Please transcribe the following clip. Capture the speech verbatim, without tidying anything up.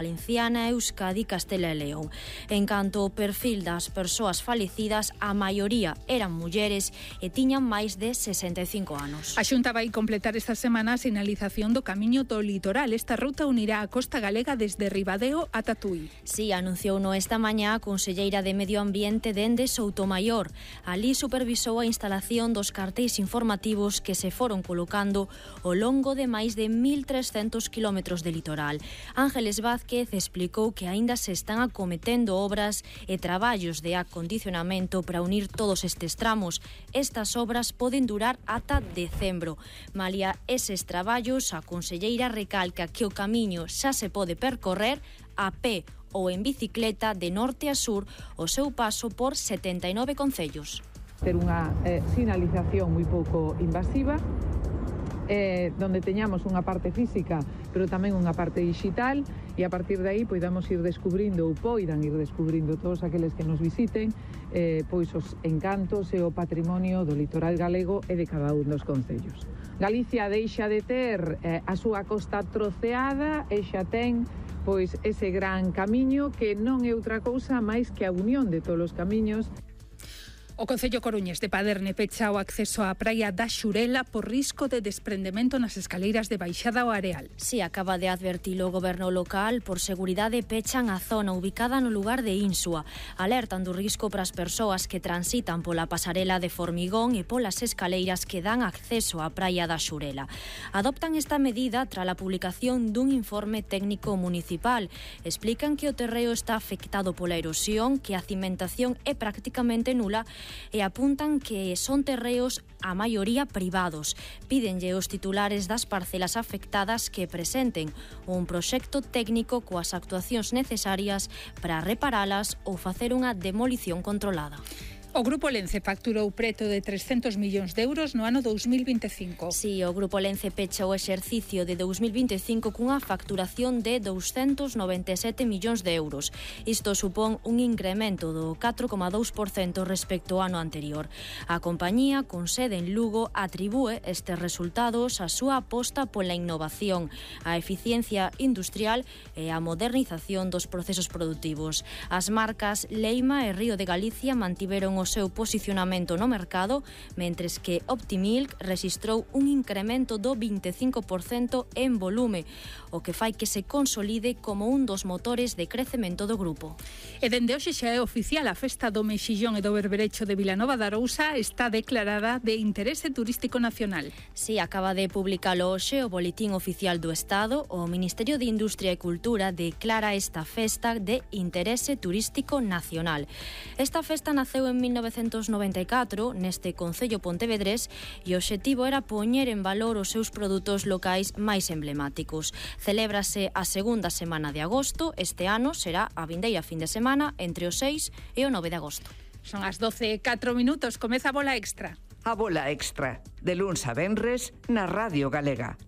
Valenciana, Euskadi, Castela e León. En canto ao perfil das persoas falecidas, a maioría eran mulleres e tiñan máis de sesenta e cinco anos. A Xunta vai completar esta semana a sinalización do camiño do litoral. Esta ruta unirá a costa galega desde Ribadeo ata Tui. Si, anunciouno esta mañá a conselleira de Medio Ambiente dende Soutomaior. Ali supervisou a instalación dos cartéis informativos que se foron colocando ao longo de máis de mil trescentos kilómetros de litoral. Ángeles Vázquez explicou que aínda se están acometendo obras e traballos de acondicionamento para unir todos estes tramos. Estas obras poden durar ata decembro. Malia eses traballos, a conselleira recalca que o camiño xa se pode percorrer a pé ou en bicicleta de norte a sur o seu paso por setenta e nove concellos. Ter unha eh, sinalización moi pouco invasiva, eh, donde teñamos unha parte física, pero tamén unha parte digital, e a partir de aí poidamos ir descubrindo ou poidan ir descubrindo todos aqueles que nos visiten eh, pois os encantos e o patrimonio do litoral galego e de cada un dos concellos. Galicia deixa de ter eh, a súa costa troceada e xa ten pois ese gran camiño que non é outra cousa máis que a unión de todos os camiños. O Concello Coruñés de Paderne pecha o acceso á praia da Xurela por risco de desprendemento nas escaleiras de baixada ao areal. Si, acaba de advertilo o goberno local, por seguridade pechan a zona ubicada no lugar de Insua. Alertan do risco para as persoas que transitan pola pasarela de formigón e polas escaleiras que dan acceso á praia da Xurela. Adoptan esta medida tras a publicación dun informe técnico municipal. Explican que o terreo está afectado pola erosión, que a cimentación é prácticamente nula e apuntan que son terreos a maioría privados. Pídenlle aos titulares das parcelas afectadas que presenten un proxecto técnico coas actuacións necesarias para reparalas ou facer unha demolición controlada. O Grupo Lence facturou preto de trescentos millóns de euros no ano dous mil vinte e cinco. Si, o Grupo Lence pecha o exercicio de dous mil vinte e cinco cunha facturación de douscentos noventa e sete millóns de euros. Isto supón un incremento do catro coma dous por cento respecto ao ano anterior. A compañía, con sede en Lugo, atribúe estes resultados á súa aposta pola innovación, a eficiencia industrial e a modernización dos procesos produtivos. As marcas Leima e Río de Galicia mantiveron o seu posicionamento no mercado, mentres que Optimilk rexistrou un incremento do vinte e cinco por cento en volume, o que fai que se consolide como un dos motores de crecemento do grupo. E dende hoxe xa é oficial a festa do Mexillón e do Berberecho de Vilanova de Arousa está declarada de interese turístico nacional. Si, acaba de publicalo hoxe o Boletín Oficial do Estado. O Ministerio de Industria e Cultura declara esta festa de interese turístico nacional. Esta festa naceu en mil novecentos noventa e catro neste concello pontevedrés e o obxectivo era poñer en valor os seus produtos locais máis emblemáticos. Celébrase a segunda semana de agosto. Este ano será a vindeira fin de semana entre o seis e o nove de agosto. Son as doce e catro minutos, comeza a Bola Extra. A Bola Extra, de luns a venres na Radio Galega.